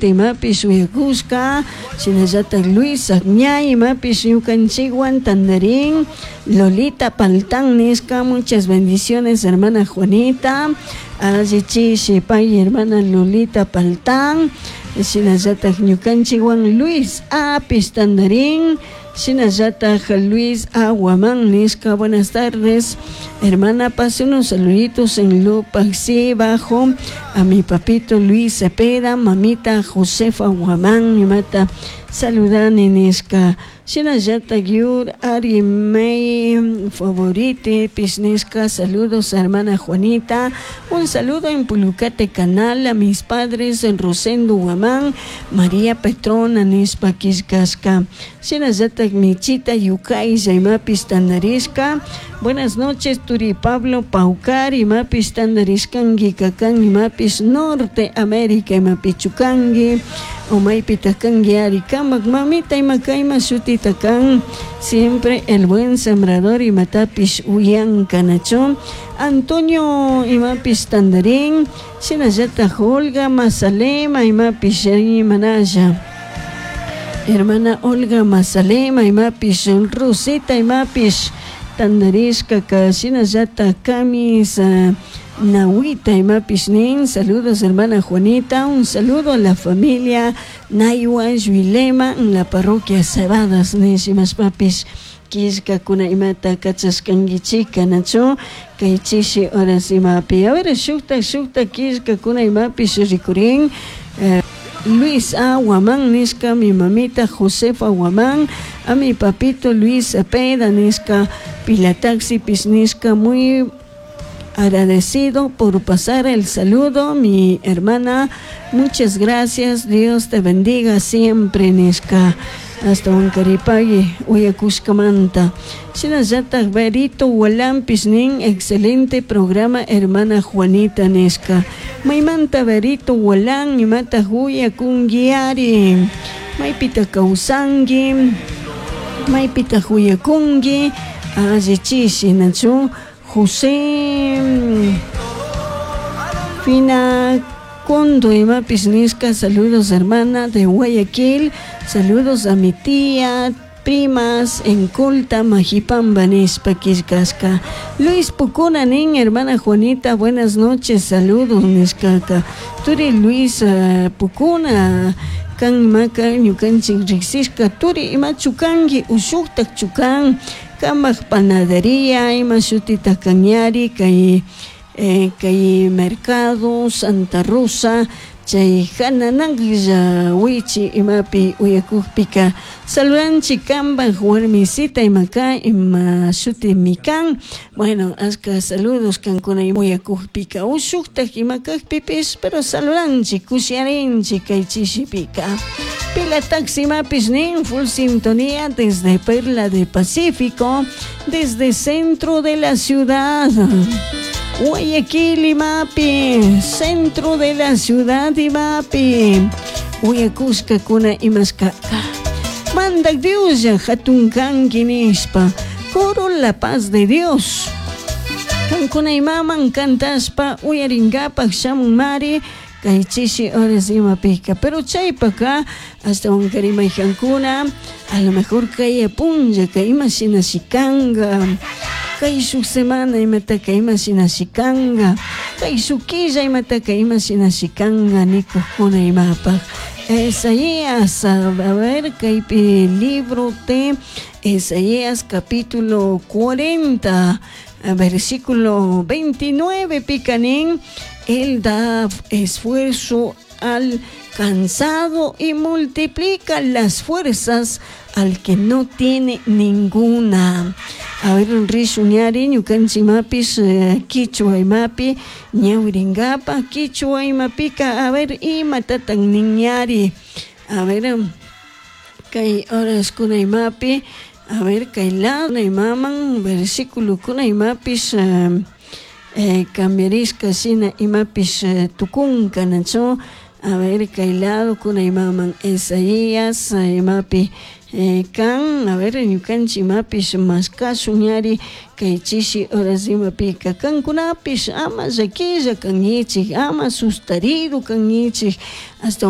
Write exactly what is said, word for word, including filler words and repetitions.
Favorita imapish uyakushka, shinallatak Luis Agñay imapish ñukanchikwan tandarin, Lolita Paltán nishka, muchas bendiciones hermana Juanita, alli chishi pay hermana Lolita Paltán, shinallatak ñukanchikwan Luis Apis tandarin, shinallatak Luis Aguamán nishka, buenas tardes hermana, pase unos saluditos en Lupaxi bajo a mi papito Luis Cepeda, mamita Josefa Guamán, imata saludani nishka, shinallatak Yur Ari May favorite nishka, saludos hermana Juanita, un saludo en Pulucate Canal a mis padres en Rosendo Guamán, María Petrona nishpa killkashka, shinallatak Michita Yukay imapis tandarishka, buenas noches Turi Pablo Paucar imapis tandarishkanki kakan imapis Norte América imapichukanki umaypi kanki ari kamak mamita imakayma shutita kan siempre el buen sembrador imatapish uyanka nachu Antonio imapis tandarin shinallatak Olga Mazalema imapish imanalla hermana Olga Mazalema imapish Rosita imapish tandarishka ka shinallatak Camis uh, Nahuita imapish nin, saludos hermana Juanita, un saludo a la familia Naywa Yuilema en la parroquia Cebadas nishimashpapish killkakuna imata kachashkankichika nachu kay chishi horas imapi. A ver, shukta shukta killkakuna imapish rikurin eh, Luis A. Guamán nishka, mi mamita Josefa Guamán, a mi papito Luis Cepeda nishka, Pilataxi nishka, muy agradecido por pasar el saludo, mi hermana, muchas gracias, Dios te bendiga siempre, nishka. Hasta un karipagui, uyakushkamanta. Shinallatak Berito Walampis nin, excelente programa, hermana Juanita nishka. Maymanta Berito Walan, imata uyakunguiari. Maypita kawsanki, maypita uyakunki, alli chishi nachu. José Fina Condo imapis nishka, saludos hermana de Guayaquil, saludos a mi tía, primas en Colta, Majipamba, nishpa killkashka. Luis Pucuna nin, hermana Juanita, buenas noches, saludos nishkaka. Turi Luis uh, Pucuna, kan imaka ñukanchik riksishka, turi imachu kanki ushuktak chukan, kamak panadería, ima shutita kañari, kay eh, kay mercado Santa Rosa, chay hananaklla wichi imapi uyakukpika saludanchik kanpak warmisita imaka ima shutimi kan, bueno, ashka saludos kankuna uyakukpika ushuktak ima kakpipish pero saludanchik kushiarinchik kay chishipika. Pila Taxi imapis nin, full sintonía desde Perla de Pacífico, desde centro de la ciudad. Guayaquil imapi, centro de la ciudad imapi, uyakushkakuna imashkaka. Mandak Dios hatun kanki nishpa, coro La Paz de Dios. Kankuna imaman kantashpa uyarinkapak shamunmari, kay chishi horas imapika. Pero chaypaka hasta un karimayjankuna, a lo mejor kay punlla, kay ima shinashikanga, kay shuk semana imataka ima shinashikanga, kay shuk killa imataka ima shinashikanga nikukkuna imapaq. Isaías, a ver, kaypi libro de Isaías capítulo cuarenta, versículo veintinueve, picanín, él da esfuerzo al cansado y multiplica las fuerzas al que no tiene ninguna. A ver, rishun ñukanchik imapis kichwa imapi ñawirinkapa kichwa imapika, a ver, imatatan niñari. A ver, kay horas kuna imapi, a ver, kay lado imaman versículo kuna imapis eh, eh, cambiarishka shina imapis eh, tukunka nachu. A ver, kay lado kuna imaman Isaías imapi eh, kan, a ver, ñukanchik imapis mashkashun ñari kay chishi horas imapika kankunapish ama llaquilla kankichik, ama sustarido kankichik, hasta